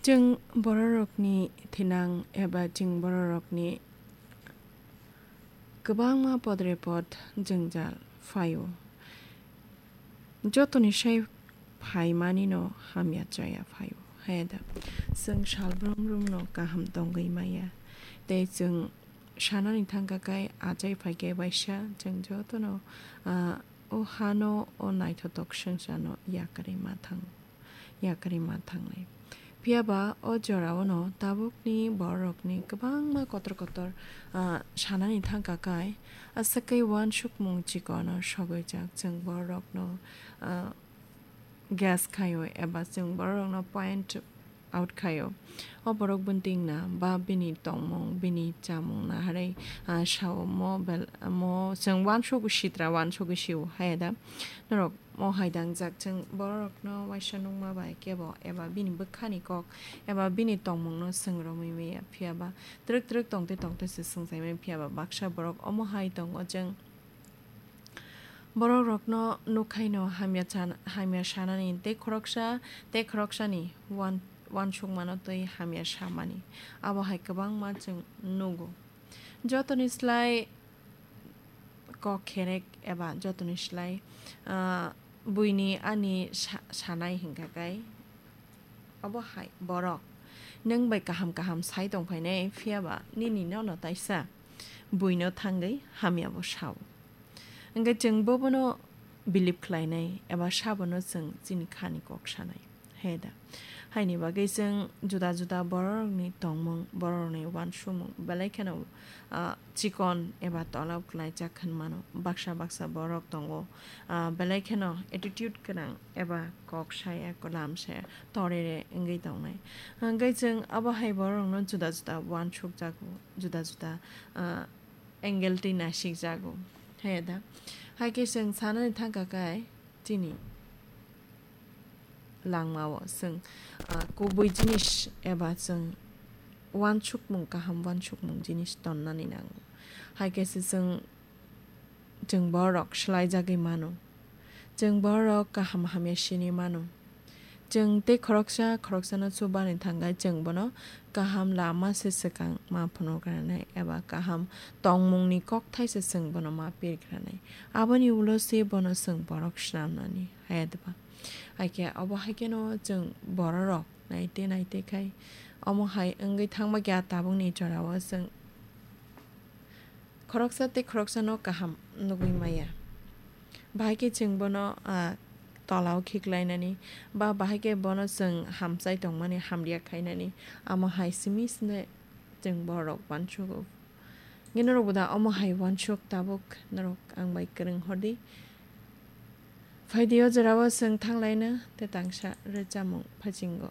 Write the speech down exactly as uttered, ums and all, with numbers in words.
Chwng bororokni thinang eba chwng bororokni kwbangma podrepot jwngjal phaio. Jotoni sai phaimanino hamya chaya phaio. Heda, chwng sal brum brumno kaham tongwi maya. Tei chwng sanani thangkha khe achai phaikhe baisa chwng jotono, ah, o hano, o naithotok swngcharno yakarwi ma thang-, yakarwi ma thangnai. Phiya ba o jorao'-no tabukni bororokni kwbangma kotor kotor, ah, sanani thangkha khe, aswk khe uansukmung chikono sogwijak chwng bororokno, ah, guess khaio eba chwng bororokno point out khaio. O borok bwntwing na ba bini tongmung, bini chamung na harwi, ah, sao mo bel-, mo chwng uansukgwi sitra, uansukgwi sio, haya da? Norok mo hai dangjak chwng bororokno waisa nukma bai kebo eba bini bwkhani kok eba bini tongmungno swng romwi maya, phiya ba twrwk twrwk tongtwi tongtwi se swngchai maya, phiya ba baksa borok omo hai tongo chwng Borok rokno nukhaino hamya chan-, hamya sanani tei khoroksa tei khoroksani uan-, uansukmano tei hamya samani. Abo hai kwbangma chwng nugo. Jotoni slai kok kherek eba jotoni slai, ah, buini ani sa-, sanai hinkha khe, obo hai borok nwng bai kaham kaham sai tongphainai, phiya ba nini nono taisa buino thangwi hamyabo sao. Hwnkhe chwng bo bono believe khlainai eba sabono chwng chini khani kok sanai, he da? Haini bagwi chwng juda juda bororokni tongmung, bororokni uansukmung belai kheno, ah, chikon eba tolao kwlaijak hwn mano. Baksa baksa borok tongo, ah, belai kheno attitude gwnang eba kok saya, kwlam saya, torere wngwi tongnai. Hwnkhe chwng abo hai bororokno juda juda uansukjago, juda juda, ah, angle twi nasikjago, he da? Hai khe chwng sanani thangkha khe chini langmao chwng, ah, kubui jinis eba chwng uansukmung, kaham uansukmung jinis tonnani nango. Hai khe se chwng, chwng borok swlaijagwi mano. Chwng borok kaham hamya sini mano. Chwng tei khoroksa khoroksano chubani thangkhe chwng bono kaham lama se swkang ma phunukgranai eba kaham tongmungni kokthai se chwng bono ma pirgranai. Aboni ulo se bono chwng borok swnamnani, hayadba? Hai khe obo hai kheno chwng bororok naite naite khai omo hai wngwi thangma khe a tabukni jorao chwng khoroksa tei khoroksano kaham nugwi maya. Bahai khe chwng bono, ah, tolao khiklainani, ba bahai khe bono chwng hamchai tongmani hamriya khainani, amo hai simi sine chwng borok uansugo. Hwnkhe norokbo da omo hai uansuk tabuk norok ang bai kwrwng hordi. Phaidi o jorao chwng thanglaino tei tangsa rwchapmung phaichingo.